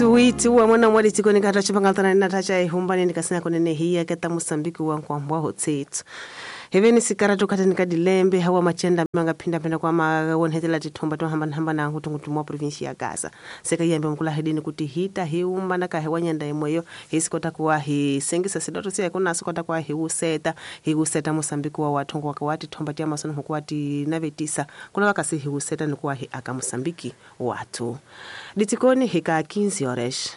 88 wa mwana wa litiko ni kata chipanga na tacha ihumbani nikasina konene hiya keta Mosambiki wa nkwambwa hotsetsu heveni sikara tokata nikadilembe hawa machenda manga pinda pinda kwa mawonhetela tithomba to hamba hamba na ngutu mwa province ya Gaza seka yambe mkula hedini kuti hita hiumba na kahewa nyanda imweyo hisikota kuwa hi sengisa sidoto siya kuna sikota kwa hiuseta hiuseta Mosambiki wa wathongo wakawati thomba tia masono hukwati navetisa kula wakasi hiuseta nikuwa hi aka Mosambiki watu ditikoni hika 15 horas.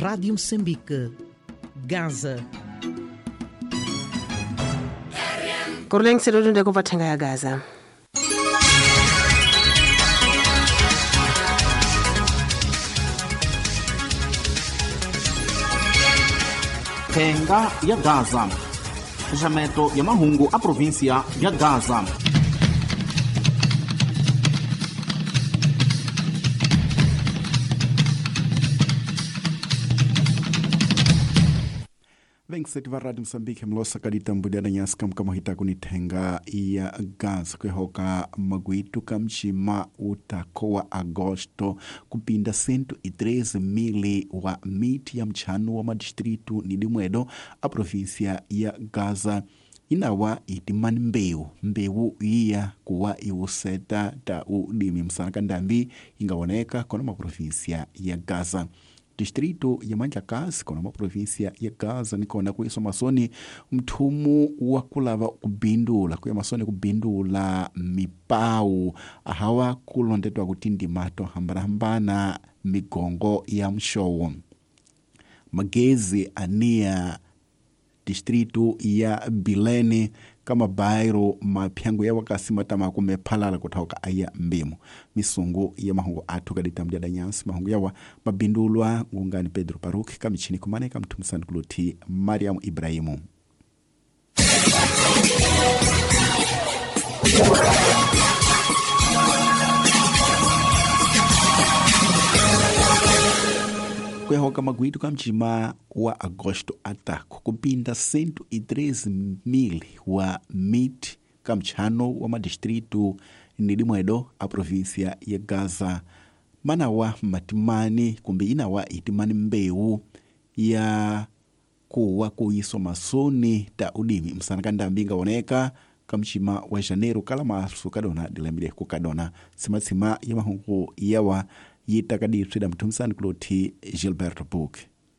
Rádio Moçambique, Gaza. Korleng sedodo ndeko pathenga ya Gaza. Thenga ya Gaza. Xameto ya mahungu a província ya Gaza. Vengseti va Radio Mosambiki mlosa kaditambudana nyasi kamkama hitaku ni thenga ya Gaza kwehoka magwitu kamchima utakowa Agosto kupinda 113,000 wa miti ya mchano wa madistritu ni dimwedo a província ya Gaza inawa itimani mbewu iya kuwa iwuseta ta udimi msana kandambi ingawoneka kona maprovíncia ya Gaza. Distrito ya Mandlakazi kona maprovíncia ya Gaza nikona kuiso masoni mthumu wa kulava kubindula kuya masoni kubindula mipau ahawa kulondetwa kuti ndimato hambanahambana migongo ya mshowo magezi ania distrito ya Bilene kama bairo mapyango ya wakasi matama kumephalala kuthoka aya mbimo misungu ya mahungu athu kaditambya danyansi mahungu yawa mabindulwa ngungani Pedro Paruk kamichini kumaneka mthumisani kuluthi Mariam Ibrahimu. Kwehoka magwitu kamchima wa Agosto atako kupinda 113,000 wa miti kamchano wa madistritu nilimwedo a província ya Gaza manawa matimani kumbe inawa itimani mbewu ya kuwa kuiso masoni ta udimi msana kandambi ingawoneka kamchima wa Janeiro kala masu kadona dilembile kukadona simatsima ya mahungu yawa yitakadipswida mthumisani kuluthi Gilberto Book.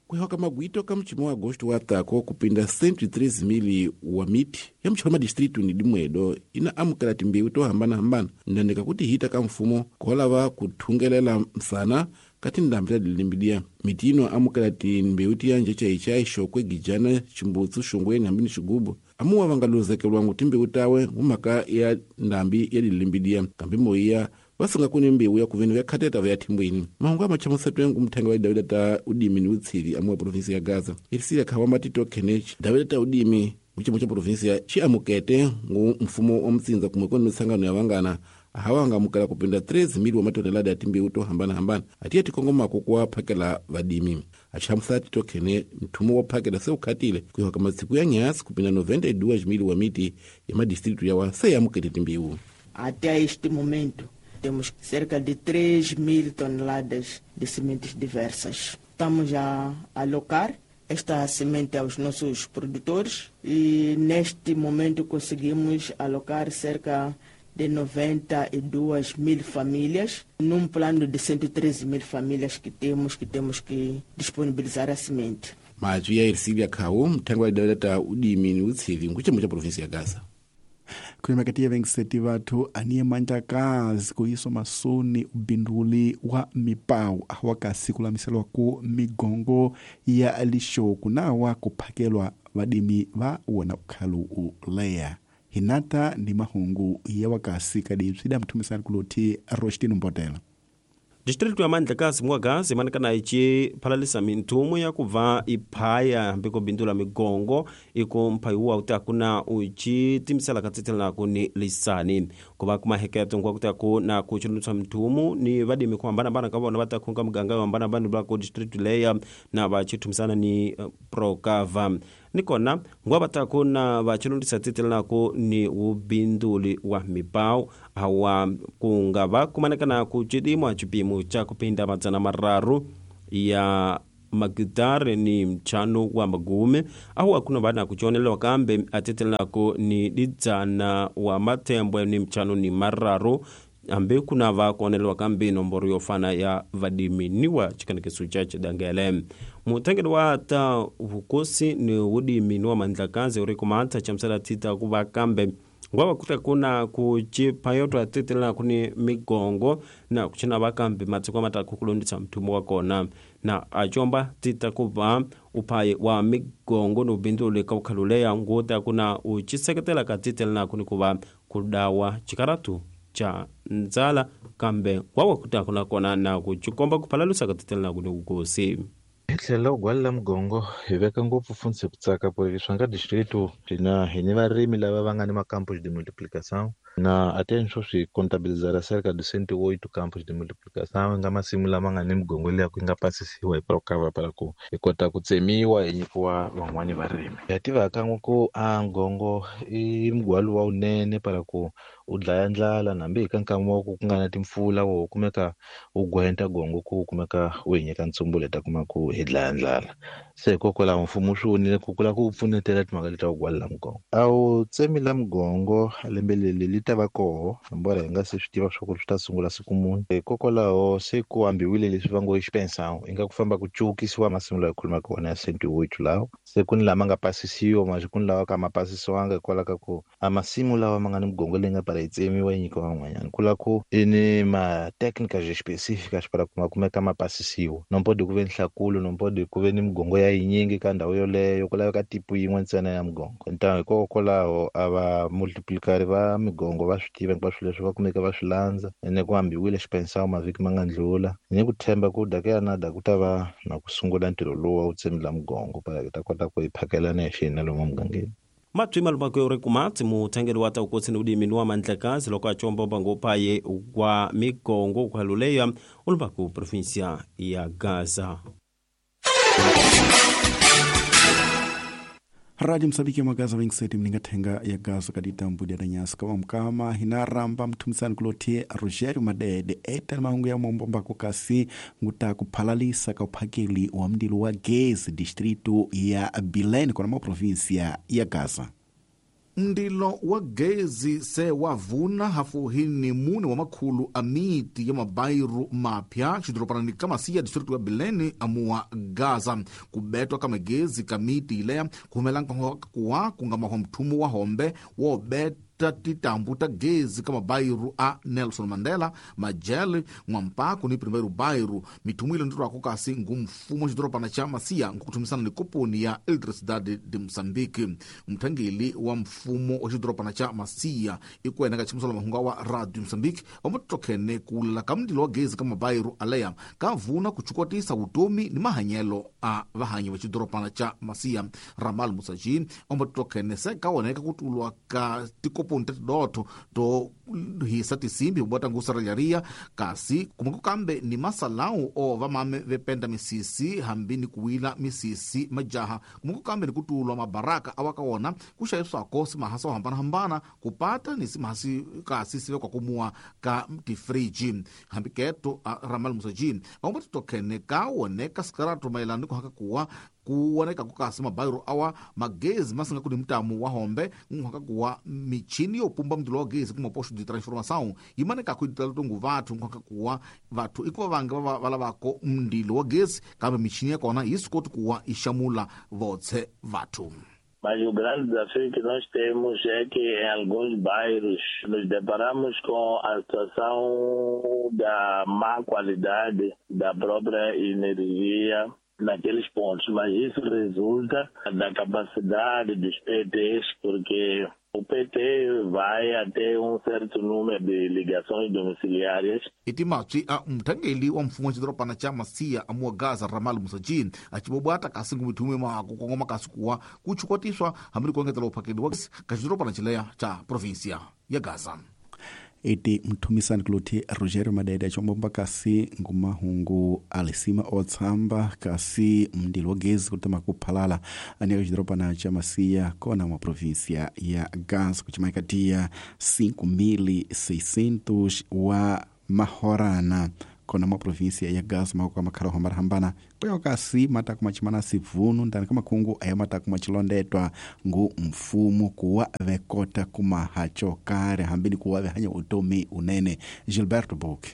Kuhoka magwito kamchimo wa Agosto watako kupinda 113,000 wa miti ya mchoma distritu ni dimwedo ina amukela timbewu to hambana-hambana ndandika kuti hita ka mfumo kolava kuthungelela msana kati ndambi tadilimbidia miti ino amukela timbewu tiyanje chaichai xokwe gijana chimbutsu xongweni hambi ni xigubu amuwa vangaluzekelwangu timbewu tawe ngumhaka ya ndambi ya dilimbidia kambi moiya vasinga kuni mbewu ya kuveni vya vya thimbwini mahungu amachamusetwe ngumthenga wa Davida ta udimi ni utsili amuwa provinsi ya Gaza ilisile khawa matito khenech Davida ta udimi muchimo cha provinsi xi amukete ngu mfumo wa mtsindza kumwe kuni mitsangano ya vangana ahawa angamukela kupinda 3,000 wa matonelada ya timbewu to hambana-hambana atiye tikongomako kuwa phakela vadimi achamusa tito khene mthumo wa phakela se ukhatile kuihoka masiku ya nyasi kupinda 92,000 wa miti ya madistritu yawa se yamukete timbewu. Até este momento temos cerca de 3.000 toneladas de sementes diversas. Estamos a alocar esta semente aos nossos produtores e neste momento conseguimos alocar cerca de 92.000 famílias, num plano de 113.000 famílias que temos que disponibilizar a semente. Mazwi ya Ercilia Khau, mthengo wa daweta udimi ni utsili nkuchimo cha província ya Gaza. Kuyemakatia vengiseti vathu aniye Mandlakazi kuiso masoni ubinduli wa mipau awakasi kulamiselwa ku migongo ya lixoku nawa kuphakelwa vadimi va wona ukhalu uleya hinata ni mahungu ya wakasi kadipsida mthumisani kuluthi Rostino Mbotela. Distrito ya Mandlakazi mwa Gaza imanikana ici phalalisa minthumu ya kuva iphaya hambi kubindula migongo iku mphayi utaku na uci timisela katsitselanaku ni lisani kuva kumaheketo nkwa kutaku na kuchulutswa minthumu ni vadimi kuhambanahambana ka vona va takhunga muganga yo hambanahambana va ku distrito leya na va chithumisana ni Procava Ni kona ngwa vataku na vachilundisa titelanako ni ubinduli wa mipau awa kunga va kumanekana ku cidimwa cipimo ca kupinda 300 ya magitare ni mchano wa magume ahu akuna vana kuchonelewa kambe atetelako ni didzana wa matembwe ni mchano ni mararu ambe kuna va kuonelewa kambe nomboro yofana ya vadimi niwa chikanekeso cha chidangele. Mutengeli wa ta vukosi ni udimi ni wa mandlakazi uri kumata chamsala tita kuva kambe ngwava kuta kuna kuchipa atetela kuni migongo na kuchina vakambi matsiko mataku kulondisa mthumo wa kona na achomba tita kuva uphayi wa migongo ni ubinduli ka ukhaluleya nguta kuna uchiseketela ka titela kuni kuva kudawa chikaratu cha ndzala kambe ngwava kuta kuna kona na kuchikomba kuphalalusa ka titela kuni ukosi. Hi tlhela u gwalela mugongo hi veka ngopfu fundzi ku tsaka ku leswi nga distrito hina hi ni varimi lava va nga ni macampos de multiplicação na até swo swi contabilizar cerca de 108 campos de multiplicação nga masimu lama nga ni migongo liya ku nga pasisiwa hi Procava para ku hi kota ku tsemiwa hi nyikiwa van'wani varimi. Ha tiva kan'we ku a ngongo i mugwalo wa wunene para ku u dlaya ndlala nambi hi ka nkama wa ku ku nga na timpfula wo kumeka u gwenta gongo ku kumeka u hi nyika ntsumbulu hi ta kuma ku hi dlaya ndlala. Se hikokwalaho mfumo swi vonile ku ku lava ku pfunetela timhaka leti ta ku gwalela mugongo. A wu tsemi la mugongo lembe leri li ta va koho embora hi nga se swi tiva swa ku swi ta sungula siku muni. Hikokwalaho se ku ambiwile leswi va ngo i xipensão i nga ku famba ku cukisiwa masimu lawa hi khulumaka wona ya 108 lawa se ku ni lama nga pasisiwa manje ku ni lawa ka ma pasisiwanga hikwalaho ka ku a masimu lawa ma nga ni migongo leyi nga para yi tsemiwa yi nyikiwa van'wanyana ku lava ku i ni ma-técnicas específicas para ku ma kumeka ma pasisiwa. No pode ku ve nhlakulo no pode ku ve ni migongo ya yinyingi ka ndhawu yoleyo ku laveka tipu yin'we ntsena ya migongo. Ntamu hikokwalaho a va multiplicari va migongo va swi tiva hinkwaswo leswi va kumeka va swi landza ene ku ambiwile xipensão mavhiki ma nga ndlula. Ni ku tshemba ku dakeyanada ku ta va na ku sungula ntirho lowu wa ku tsemila mugongo para hi ta kota ku hi phakelana hi xihina lomu mugangeni. Matswi malumako yori kumatsi muthengeli wa ta ukotsi ni udimi ni wa mandlakazi loko achombomba ngophaye wa migongo ukhaluleya ulumbaku provinsia ya Gaza. Radio Msambiki magaza 27 mningathenga ya Gaza kaditambu dia nyasa kama mkama hinaramba mthumisani kulotie Rogerio Madede eta mahungu ya mombo kasi nguta kuphalalisa ka uphakeli wa mndilo wa gezi distrito ya Bilene kona ma provinsia ya Gaza. Ndilo wa gezi se wavuna hafu ni mune wa makhulu a miti ya mabairu mapya xidoropanani ka Masiya distrito ya Bilene amuwa Gaza. Kubetwa ka magezi ka miti ileya kuhumela nkakuwa kunga mahwa mthumu wa hombe wo beta titambu ta gezi ka mabairu a Nelson Mandela, Majele, N'wampaku ni Primeiro Bairro. Mithumu ile nditwako kasi ngu mfumo xidorobana xa Masiya nkukuthumisana ni koponi ya Eletricidade de Moçambique. Mthangeli wa mfumo wa xidorobana xa Masiya ikuena ka chimisolo mahunga wa Radio Moçambique vamatokhene kula ka mndilo wa gezi ka mabairu aleya ka vuna kuchukotisa vutomi ni mahanyelo a vahanyi va xidorobana xa Masiya. Ramal Musaji vamatokhene se ka woneka kutulwa ka tikoponi ta tidotho to hisa tisimbi hubota ngusaralharia kasi kumako kambe ni masalau o vamame vependa misisi hambi ni kuwila misisi majaha kumako kambe ni kutulwa mabaraka awaka wona kuxaviswako simahasi o hambanahambana kupata ni simahasi kasi sive kwa kumua ka tifriji. Hambi keto a Ramal Musaji vamwe titokhene ka woneka sikaratu maelana ni kuhaka kuwa kuwoneka kukasi mabairu awa magezi masinga kuni mtamu wa hombe nkuhaka kuwa michini yopumba mndilo wa gezi kuma posto de transformação yimaneka kuitala tungu vathu nkuhaka kuwa vathu ikuva vange valavako mndilo wa gezi kambe michini yakona yisikoti kuwa ixamula votse vathu. Mas o grande desafio que nós temos é que em alguns bairros nos deparamos com a situação da má qualidade da própria energia naqueles pontos, mas isso resulta da capacidade dos PTs, porque o PT vai até certo número de ligações domiciliárias. Itimatswi a mthangeli wa mfumo wa xidorobana xa Masiya amuwa Gaza Ramal Musaji acibobwata kasi ngumithume mako kongoma kasi kuwa kuchukotiswa hambi ni ku engetela uphakeli wa ka xidorobana xileya xa provinsia ya Gaza. Eti mthumisani kuluthi Rogério Madede chombomba kasi ngumahungu alisima otsamba kasi mndilo wa gezi kutama kuphalala aniaka cidorobana cha Macia kona mwa província ya Gaza kucimaikatia 5600 wa mahorana kona mwa província ya Gaza mako kamakhala ohambanahambana kuya kasi mataku machimana sivunu ndani kamakhungu aya mataku machilondetwa ngu mfumo kuwa vekota kumahacho kare hambini kuwa vehanya utomi unene. Gilberto Book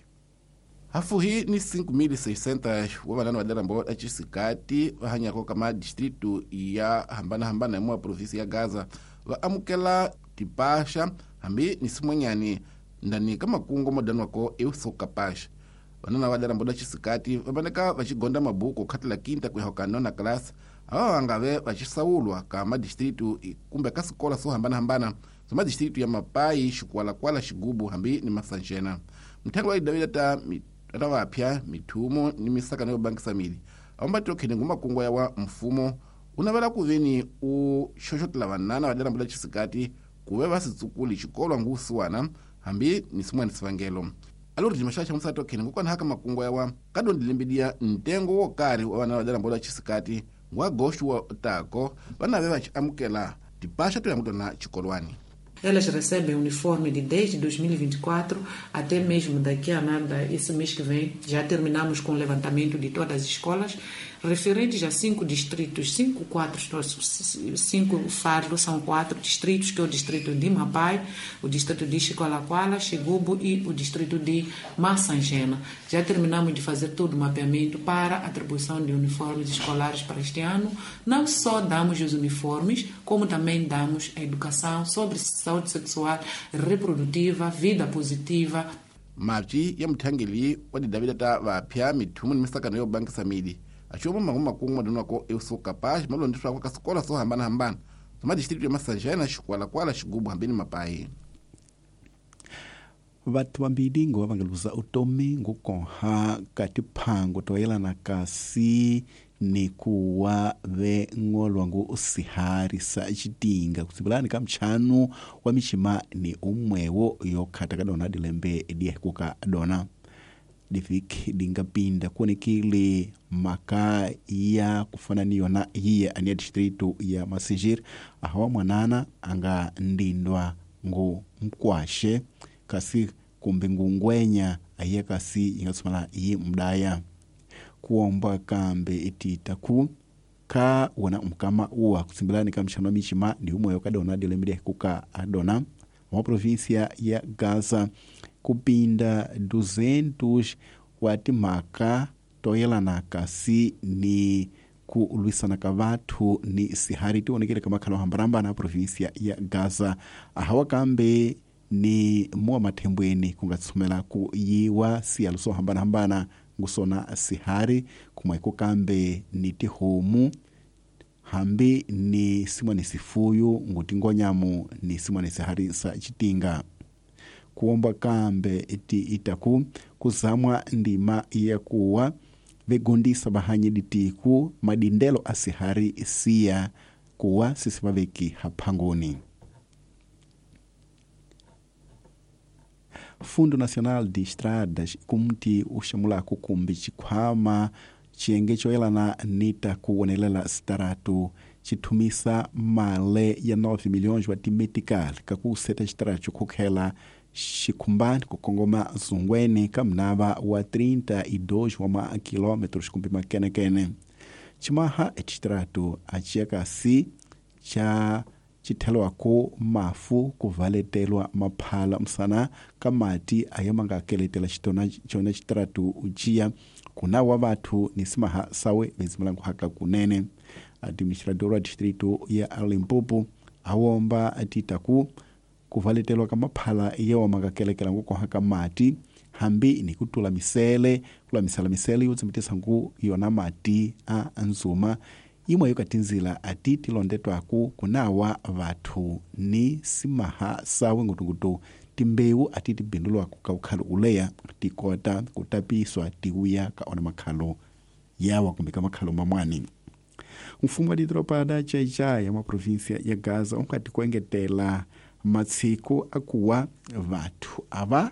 hafuhi ni 5600 wa vanana va darambo acisikati va hanyako ka madistritu ya hambanahambana ya mwa província ya Gaza va amukela tipaxa hambi ni simwanyani ndani ka makungu modaniwako eusokapaxa. Vanana va darambo la xisikati va vaneka va xigonda mabuku khatela quinta ku ya ka nona class ava va nga ve va xisawulwa ka madistritu kumbe ka swikolo swo hambanahambana swa madistritu ya Mapai, Xikwalakwala, Xigubu hambi ni Masanjena. Mthengo wa idavila ta vapya mithumo ni misakano yo bangisa mili awambatiro khene ngu makungu ya wa mfumo u navela ku veni u xoxotela vanana va darambo la xisikati ku ve va si tsukuli xikolwa ngu usiwana hambi ni swin'wana swivangelo. Alori dimaxa xa musati okhene ngokwana haka makungu yawa kadondilembedia ntengo wo karhi wa vana va darambo la xisikati ngu agosto wa tako vana ve va xi amukela tipaxa to ya xikolwani. Elas recebem uniforme de desde 2024 até mesmo daqui a nada, esse mês que vem, já terminamos com o levantamento de todas as escolas, referentes a 5 distritos, 5 fardos, são 4 distritos, que é o distrito de Mapai, o distrito de Chicoalacoala, Xigubo e o distrito de Massangena. Já terminamos de fazer todo o mapeamento para a atribuição de uniformes escolares para este ano. Não só damos os uniformes, como também damos a educação sobre saúde sexual, reprodutiva, vida positiva. Mapyi ya muthangeli wa didavila ta vapya mithumo ni misakano yo bangisa mili axioma mangu makungu madonwako eusokapaxi malondziswako ka swikolo swo hambanahambana swa madistritu ya Masanjena, Xikwalakwala, Xigubu hambi ni Mapai. Vathu vambili ngo va nga luza utomi ngukonha ka tiphango to yelana kasi ni kuwa ve ngolwa ngu sihari sa xitinga kusibulani ka mchanu wa mixima ni umwewo yo khata ka dona dilembe diekuka dona diviki dingapinda kuonekile maka ya kufana niyona hiya ania distritu ya Massingir ahawa mwanana anga ndindwa ngu mkwashe kasi kumbe ngungwenya ahiya kasi ingatsumala yi mdaya kuomba kambe itita ku ka wona mkama uwa kutsimbelani ka mxano mixima ni umweyo kadona dilembe kuka adona wa província ya Gaza kupinda 200 wa timhaka to yelana kasi ni ku lwisana ka vathu ni sihari tionekele ka makhalo hambanahambana província ya Gaza ahawa kambe ni muwa mathembweni ku nga tshumela ku yiwa siyalo swo hambanahambana ngusona sihari kumweko kambe ni tihomu hambi ni simwani sifuyu ngutingonyamu ni simwani sihari sa xitinga kuomba kambe iti itaku kuzamwa ndima ya kuwa vegondisa vahanyi ditiku madindelo a sihari siya kuwa sisi vaveki haphangoni. Fundo Nacional de Estradas kumti uxamulaku kumbi xikhwama xiyenge xo yelana ni ta ku wonelela sitaratu xithumisa male ya 9 milhões wa timetical ka ku seta xitaratu khukhela xikhumbani ku kongoma zungweni ka mnava wa 32 wa makilometros kumbe makenekene ximaha exitaratu a xiya kasi xa xithelwaku mafu ku valetelwa maphala msana ka mati aya ma nga keletela xitona xona xitaratu uciya kuna wa vathu ni simaha sawe vezimulangu haka kunene. Administrador wa distrito ya Limpopo awomba atitaku kuvaletelwa ka maphala yewa ma nga kelekela ngukoha ka mati hambi ni kutula misele kulamisala misele yo tsimitisa ngu yona mati a nzuma imwe yo katinzila ati tilondetwaku kunawa vathu ni simaha sawe ngutungutu timbewu ati tibindulwaku ka ukhalo uleya tikota kutapiswa tiwuya ka ona makhalo yawa kumbe ka makhalo mamwani. Mfumo wa didoropa da Xai-Xai ya maprovinsia ya Gaza unkati kuengetela Matshiku akuwa vathu ava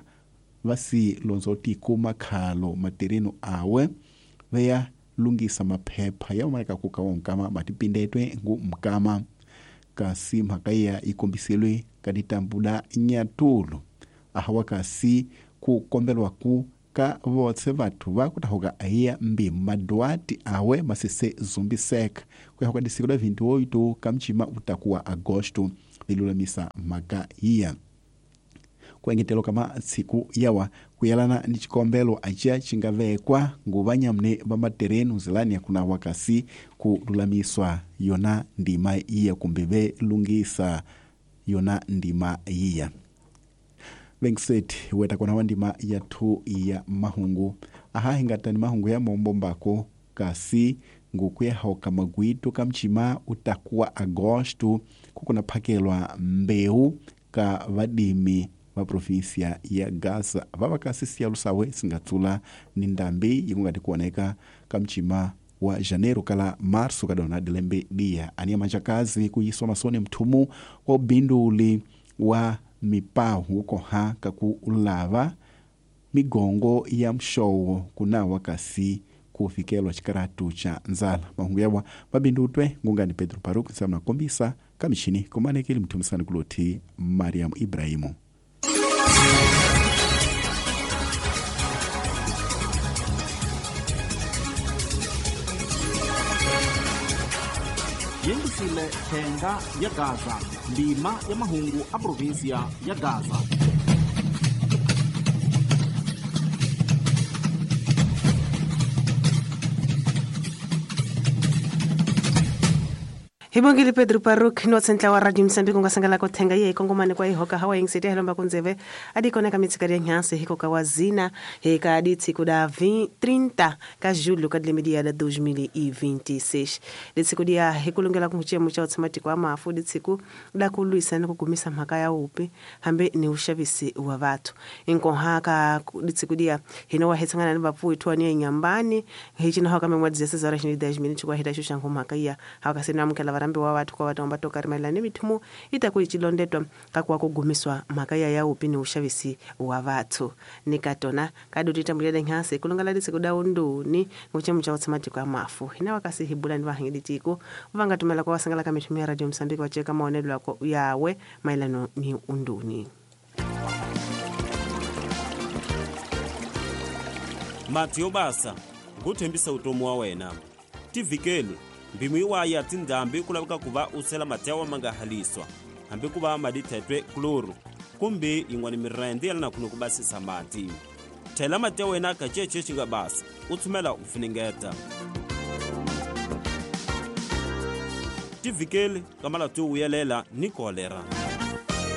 vasi lonzotiku makhalo matereno awe veya lungisa maphepha ya umaleka kuka wa nkama matipindetwe ngu mkama kasi mhaka ya ikombiselwe ka ditambula nyatulu ahawa kasi ku kombelwa ku ka votse vathu va kutahuka aiya mbimu madwati awe masese zumbiseka kuyahuka disiku la 28 ka mchima utakuwa agosto lilulamisa mhaka iya kuengetelo kama tsiku yawa kuyalana ni chikombelo acia chingavekwa nguvanyamune va materenu zilani yakunawa kasi kululamiswa yona ndima iya kumbe velungisa yona ndima iya vengiseti weta kona wa ndima ya 2 ya mahungu aha hingatani mahungu ya mombo mbako kasi ngukuyahoka magwitu kamchima utakuwa agosto kukuna phakelwa mbeu ka vadimi va provinsia ya Gaza vavakasi siyalu sawe singatsula ni ndambi ikungati kuoneka kamchima wa janeiro kala março kadona dilembe dia aniya manjakazi kuyiswa masoni mthumu wa ubinduli wa mipawu ukoha kakulava migongo ya mxowo kunawa kasi kufikelwa xikaratu xa ndzala mahungu yawa mabindutwe ngungani Pedro Paruk nsamna kombisa kamixini kumanekeli mthumisani kulothi Mariam Ibrahimu. Yengisile thenga ya Gaza, ndima ya mahungu a provinsia ya Gaza. Hibongile Pedro Paruk no tsentla wa Radio Mozambique nga sangala ko thenga ye kongomane kwa ihoka hawa ingisete helomba kunzeve adikoneka mitsikari ya nhansi hikoka wa zina heka ditsiku da 30 ka julho ka dilemidia da 2026 ditsiku dia hikulungela kunchemo cha utsamatiko amafu ditsiku da kulwisa ni kugumisa mhaka ya upi hambe ni ushavisi wa vathu inkoha ka ditsiku dia hino wa hetsangana ni vapfuwi thwa ni nyambani hichina hoka memwa 16 horas 10 minutos kwa hita shushango mhaka ya hakasina mukela varambi wa vathu kwa vathu vatoka ri mithumu itaku ichilondetwa kakuwa kugumiswa mhaka ya ya upi ni ushavisi wa vathu nikatona kadutitambulele nhansi kulungala lisiku da unduni nguchemu cha utsamatiko amafu hina wakasi hibula ni vahangilitiko vangatumela kwa wasangala ka mithumu ya Radio Mozambique wacheka maonelo yako yawe maelano ni unduni. Mati yo basa nguthembisa utomi wa wena tivhikeli mbimu iwaya tindhambi ku laveka ku va u sela mati yawa ma nga haliswa hambi ku va madithetwe kloro kumbe yin'wana mirende ya lana khunu ku basisa mati thela mati ya wena ka cece xi nga basa u tshumela u funengeta tivhikeli ka malati yo vuyelela ni kolera.